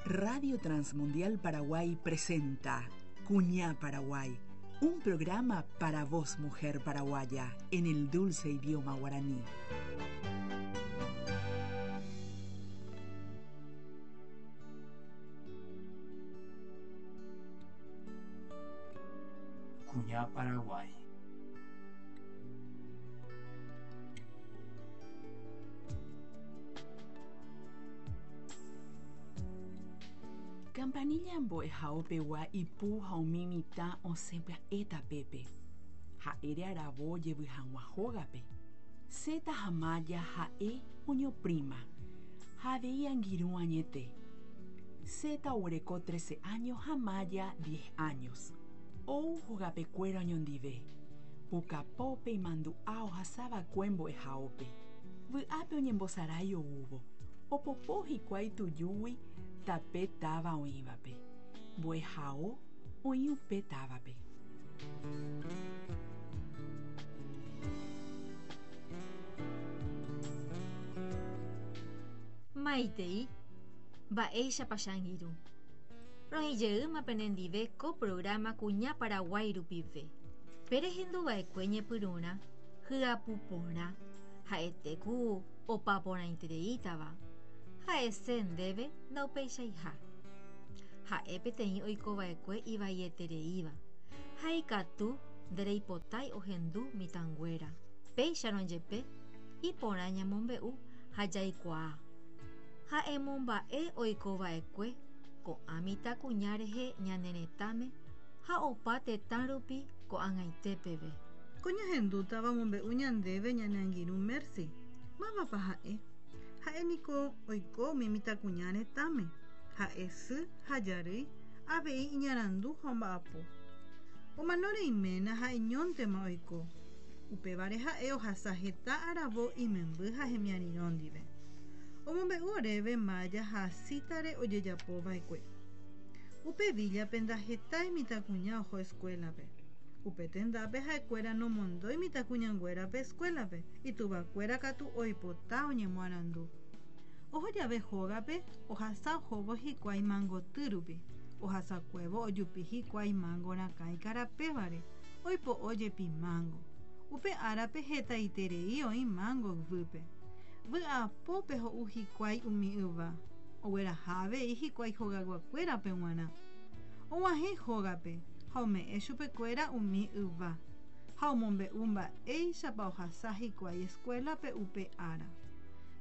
Radio Transmundial Paraguay presenta Cuñá Paraguay, un programa para vos, mujer paraguaya, en el dulce idioma guaraní. Cuñá Paraguay. Campanilla mbo'ehaópegua ipu ha umi mitã osẽ pya'e tapépe. Ha'ére aravo ojevy hag̃ua hógape. Zeta ha Maya ha'e oñoprima ha avei angirũ añete. Zeta oguereko trece años ha Maya diez años. Ou hogapekuéra oñondive. Pukapópe imandu'a ohasava'ekue mbo'ehaópe. Vy'ápe oñembosarái oúvo. Opopo hikuái tujúgui tape táva oĩvape. Mbo'ehao oĩ upe távape. Maitei, mba'éichapa che angirũ. Roĩ jeýma penendive ko programa Kuña Paraguái rupive. Pe rehenduva'ekue ñepyrũrã hyapu porã, ha'ete ku opa porãitereítava, ha'ese ndéve ndaupeichaiha. Ha'e peteĩ oikova'ekue ivaietereíva, ha ikatu ndereipotái ohendu mitãnguéra. Péicharõ jepe, iporã ñamombe'u ha jaikuaa. Ha emomba'e oikova'ekue ko'ã mitãkuña rehe ñane retãme ha opa tetã rupi ko'ag̃aite peve. Ko ñahendútava omombe'u ñandéve ñane angirũ Mercy. Mávapa ha'e? Ha'e niko oiko umi mitãkuña retãme. Ha'e sy ha jarýi, avei iñarandu ha omba'apo. Omanóre iména ha'eñóntema oiko. Upévare ha'e ohasa heta aravo imemby ha hemiarirõ ndive. Omombe'u oréve Maya ha Zita-re ojejapova'ekue. Upe víllape ndahetái mitãkuña oho eskuélape. Upe tendápe ha'ekuéra nomondói mitãkuñanguérape eskuélape, ituvakuéra katu oipota oñemoarandu. Oho jave hógape, ohasa ohóvo hikuái mangoty rupi. Ohasakuévo ojupi hikuái mango rakã ikarapévare, oipo'o jepi mango. Upe árape hetaiterei oĩ mango yvýpe. Vy'apópe ho'u hikuái umi yva. Ogueraha avei hikuái hogayguakuérape g̃uarã. Og̃uahẽ hógape ha ome'ẽ chupekuéra umi yva, ha omombe'u mba'éichapa ohasa hikuái eskuélape upe ára.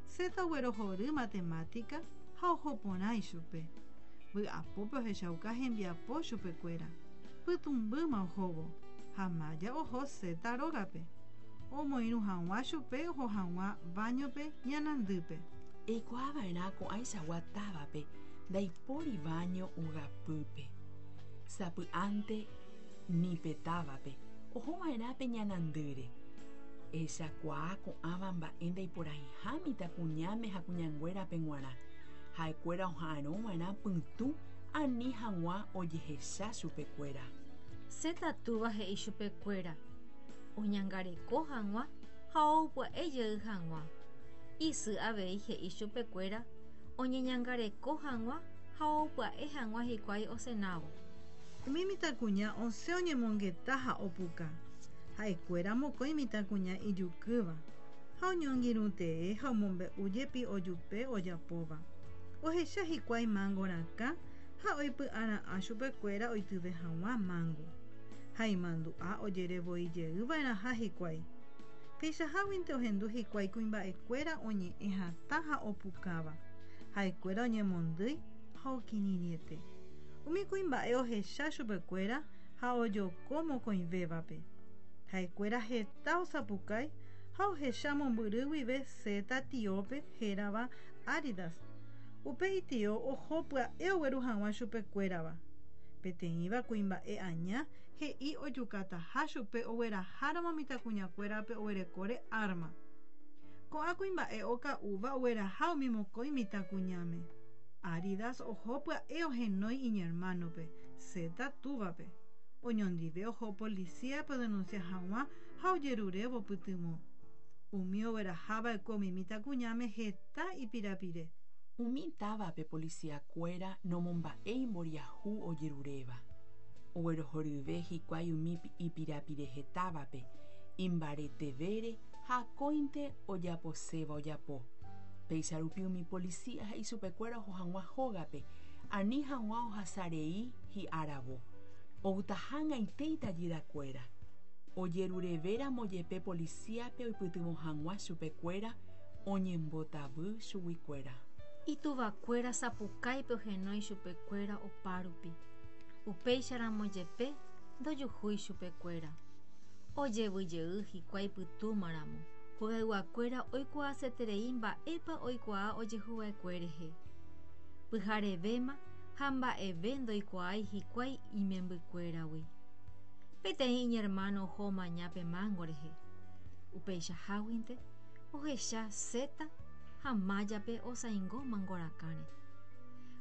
Zeta oguerohory matemátika ha oho porã ichupe. Vy'apópe ohechauka hembiapo chupekuéra. Pytũmbýma ohóvo, ha Maya oho Zeta rógape, omoirũ hag̃ua chupe oho hag̃ua váñope ñanandýpe. Eikuaa va'erã ko'ãichagua távape ndaipóri váño ogapýpe. Sapy'ánte ni pe távape oho va'erã pe ñanandýre. Ehechakuaa ko'ãva mba'e ndaiporãiha mitãkuñáme ha kuñanguérape g̃uarã. Ha'ekuéra oha'arõ va'erã pytũ ani hag̃ua ojehecha chupekuéra. Zeta túva he'i chupekuéra oñangareko hag̃ua ha oupya'e jey hag̃ua. Isy avei he'i chupekuéra oñeñangareko hag̃ua ha oupya'e hag̃ua hikuái osenávo. Umi mitãkuña osẽ oñemongeta ha opuka. Ha'ekuéra mokõi mitãkuña ijukýva, ha oñongirũtee ha omombe'u jepi ojupe ojapóva. Ohecha hikuái mángo rakã ha oipy'ara'ã chupekuéra oityve hag̃ua mángo. Ha imandu'a ojere voi jey va'erãha hikuái. Peichaháguinte ohendu hikuái kuimba'ekuéra oñe'ẽ hatã ha opukáva. Ha'ekuéra oñemondýi ha okirirĩete. Umi kuimba'e ohecha chupekuéra ha ojoko mokõivévape. Ha'ekuéra heta osapukái ha ohecha mombyry guive Zeta tiópe hérava Áridas. Upe itio oho pya'e ogueru hag̃ua chupekuérava. Peteĩva kuimba'e aña he'i ojukataha chupe ogueraháramo mitãkuñakuérape oguerekóre árma. Ko'ã kuimba'e oka'úva ogueraha umi mokõi mitãkuñáme. Áridas oho pya'e ohenói iñermánope, Zeta túvape. Oñondive oho polisíape odenunsia hag̃ua ha ojerurévo pytyvõ. Umi ogueraha va'ekue umi mitãkuñáme heta ipirapire. Umi távape policiakuéra nomomba'éi mboriahu ojeruréva. Oguerohoryve hikuái umi ipirapirehetávape, imbaretevére ha akóinte ojaposéva ojapo. Péicha rupi umi policía he'i chupekuéra oho hag̃ua hógape, ani hag̃ua ohasarei hi'aravo. Outaha ag̃aite itajyrakuéra. Ojerurevéramo jepe policíape oipytyvõ hag̃ua chupekuéra oñembotavy chuguikuéra. Ituvakuéra sapukáipe ohenói chupekuéra opárupi. Upéicharamo jepe ndojuhúi chupekuéra. Ojevy jey hikuái pytũmaramo, hogayguakuéra oikuaaseterei mba'épa oikuaa ojehuva'ekue rehe. Pyharevéma ha mba'eve ndoikuaái hikuái imembykuéragui. Peteĩ iñermáno oho omaña pe mángo rehe. Upeichaháguinte ohecha Zeta ha Májape osaingo mangorakãre.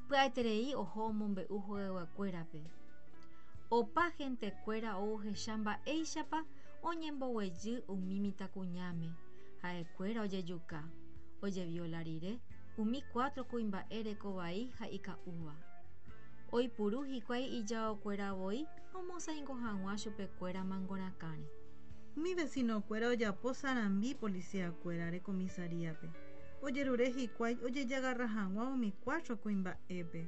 Pya'eterei oho omombe'u hogayguakuérape. Opa hentekuéra ou ohecha mba'éichapa oñemboguejy umi mitãkuñáme, ha'ekuéra ojejuka, ojeviola rire umi cuatro kuimba'e rekovai ha ika'úva. Oipuru hikuái ijaokuéra voi omosaingo hag̃ua chupekuéra mangorakãre. Umi vecinokuéra ojapo sarambi policiakuérare comisaríape. Ojerure hikuái ojejagarra hag̃ua umi cuatro kuimba'épe.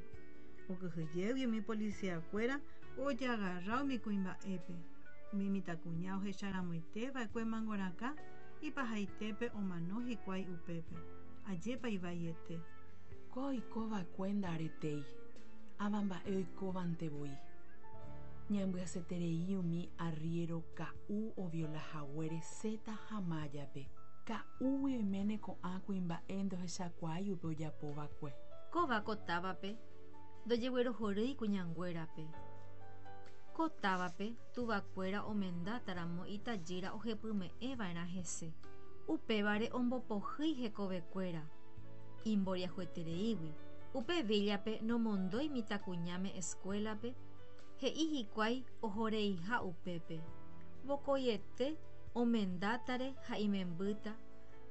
Okyhyjégui umi policiakuéra ojagarra umi kuimba'épe. Umi mitãkuña ohecharamoiteva'ekue mangorakã ipahaitépe omano hikuái upépe. Ajépa ivaiete. Ko oikova'ekue nda'aretéi, ava mba'e oikóvante voi. Ñambyasyeterei umi arriéro ka'u oviola haguére Zeta ha Májape. Ka'úgui oiméne ko'ã kuimba'e ndohechakuaái upe ojapova'ekue. Kóva ko távape ndojeguerohorýi kuñanguérape. Ko távape tuvakuéra omendátaramo itajýra ohepyme'ẽva'erã hese. Upévare ombopohýi hekovekuéra. Imboriahuetereígui, upe víllape nomondói mitãkuñáme escuélape, he'i hikuái ohoreiha upépe. Vokoiete omendátare ha imembýta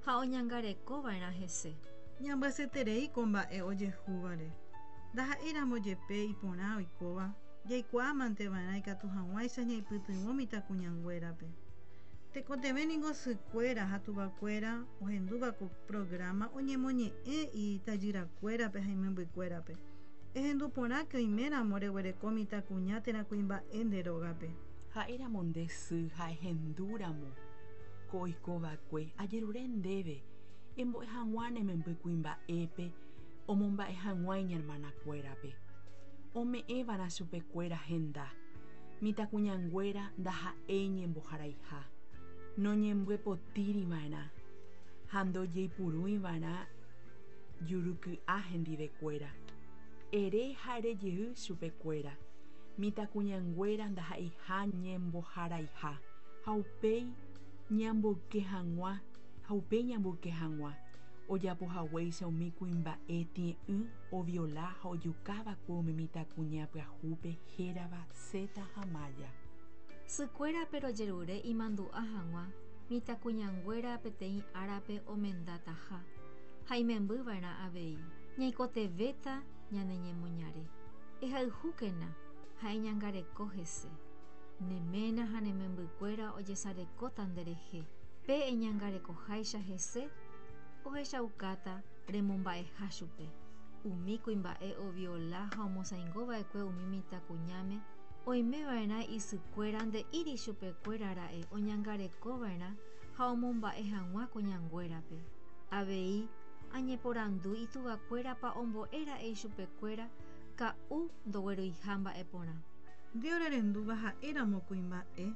ha oñangarekova'erã hese. Ñambyasyeterei ko mba'e ojehúvare. Ndaha'éiramo jepe iporã oikóva, jaikuaamanteva'erã ikatu hag̃uáicha ñaipytyvõ mitãkuñanguérape. Tekotevẽ ningo sykuéra ha tuvakuéra ohendúva ko programa oñemoñe'ẽ itajyrakuérape ha imembykuérape. Ehendu porãke oiméramo reguereko mitãkuña térã kuimba'e nde rógape. Ha'éramo nde sy ha ehendúramo ko oikova'ekue, ajerure ndéve embo'e hag̃ua ne memby kuimba'épe omomba'e hag̃ua iñermanakuérape. Ome'ẽva'erã chupekuéra henda. Mitãkuñanguéra ndaha'éi ñemboharaiha, noñembyepotíri va'erã ha ndojeipurúi va'erã juruky'a hendivekuéra. Ere ha erejey chupekuéra, mitãkuñanguéra ndaha'eiha ñemboharaiha ha upéi ñamboyke hag̃ua ha upéi ñamboyke hag̃ua ojapohaguéicha umi kuimba'e tie'ỹ oviola ha ojukava'ekue umi mitãkuña pyahúpe hérava Zeta ha Maya. Sykuérape rojerure imandu'a hag̃ua mitãkuñanguéra peteĩ árape omendataha ha imembyva'erã avei. Ñaikotevẽta ñane ñemoñare. Ehayhúkena ha eñangareko hese. Ne ména ha ne membykuéra ojesarekóta nderehe. Pe eñangarekoháicha hese ohechaukáta remomba'eha chupe. Umi kuimba'e oviola ha omosaingova'ekue umi mitãkuñáme oimeva'erã isykuéra nde'íri chupekuéra ra'e oñangarekova'erã ha omomba'e hag̃ua kuñanguérape. Avei añeporandu ituvakuérapa ombo'e ra'e ichupekuéra ka'u ndogueruiha mba'e porã. Nde orerendúva ha'éramo kuimba'e,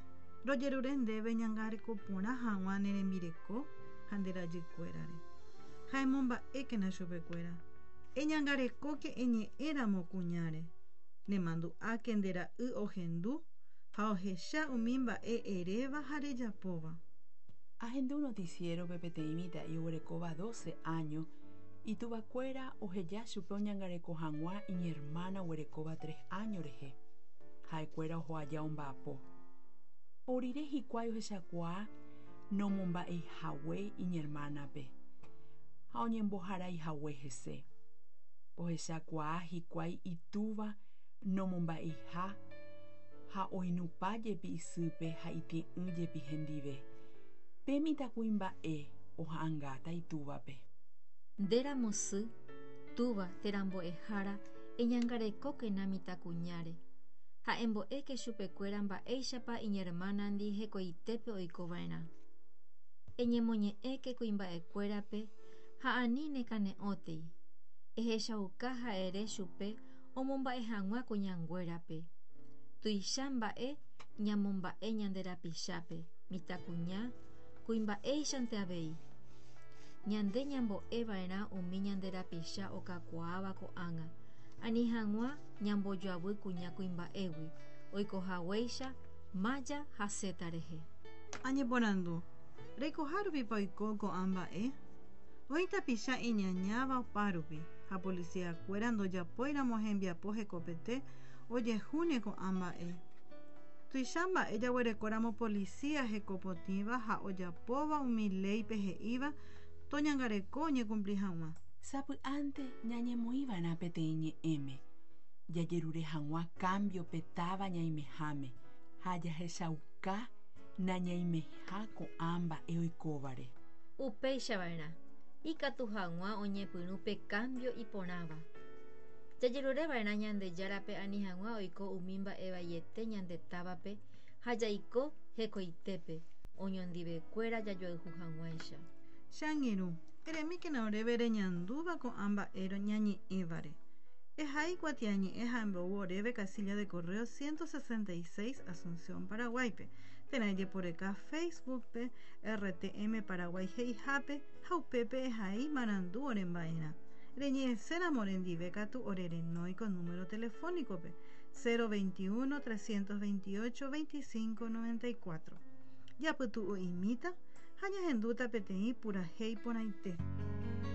rojerure ndéve ñangareko porã hag̃ua ne rembireko ha nde rajykuérare. Ha emomba'ékena chupekuéra. Eñangarekóke eñe'ẽramo kuñáre. Nemandu'áke nde ra'y ohendu ha ohecha umi mba'e eréva ha rejapóva. Ahendu noticiero-pe peteĩ mitã'i oguerekóva 12 áño ituvakuéra oheja chupe oñangareko hag̃ua iñermána oguerekóva 3 áño rehe. Ha'ekuéra oho aja omba'apo. Orire hikuái ohechakuaa nomomba'eihague iñermánape ha oñemboharaihague hese. Ohechakuaa hikuái itúva nomomba'eiha ha oinupãjepi isýpe ha itie'ỹjepi hendive. Pe mitãkuimba'e oha'ãngáta itúvape. Ndéramo sy, túva térã mbo'ehára eñangarekókena mitãkuñáre ha embo'éke chupekuéra mba'éichapa iñermánandi hekoitépe oikova'erã. Eñemoñe'ẽke kuimba'ekuérape ha ani nekane'õtei. Ehechauka ha ere chupe omomba'e hag̃ua kuñanguérape. Tuicha mba'e ñamomba'e ñande rapichápe, mitãkuña, kuimba'éichante avei. Ñande ñambo'eva'erã umi ñande rapicha okakuaáva ko'ág̃a, ani hag̃ua ñambojoavy kuña kuimba'égui, oikohaguéicha Maya ha Zeta rehe. Añeporandu, reikohárupipa oiko ko'ã mba'e? Oĩ tapicha iñañáva opárupi ha policía-kuéra ndojapóiramo hembiapo hekopete ojehúne ko'ã mba'e. Tuicha mba'e jaguerekóramo policía hekopotĩva ha ojapóva umi léipe he'íva toñangareko oñekumpli hag̃ua. Sapy'ánte ñañemoĩva'erã peteĩ ñe'ẽme, jajerure hag̃ua cambio pe táva ñaimeháme ha jahechauka nañaimeha ko'ã mba'e oikóvare. Upéichava'erã, ikatu hag̃ua oñepyrũ pe cambio iporãva. Jajerureva'erã Ñandejárape ani hag̃ua oiko umi mba'e vaiete ñande távape ha jaiko hekoitépe, oñondivekuéra jajoayhu hag̃uáicha. Che angirũ, eremíkena oréve reñandúva ko'ã mba'e ñañe'ẽvare. Ehai kuatiañe'ẽ ha embou oréve casilla de correo 166 Asunción, Paraguáipe, térã ejeporeka Facebook-pe RTM Paraguay he'ihápe ha upépe ehai marandu oremba'erã. Reñe'ẽséramo orendive katu orerenói ko número telefónico-pe 021 328 25 94. Japytu'u'imíta ha ñahendúta peteĩ purahéi porãite.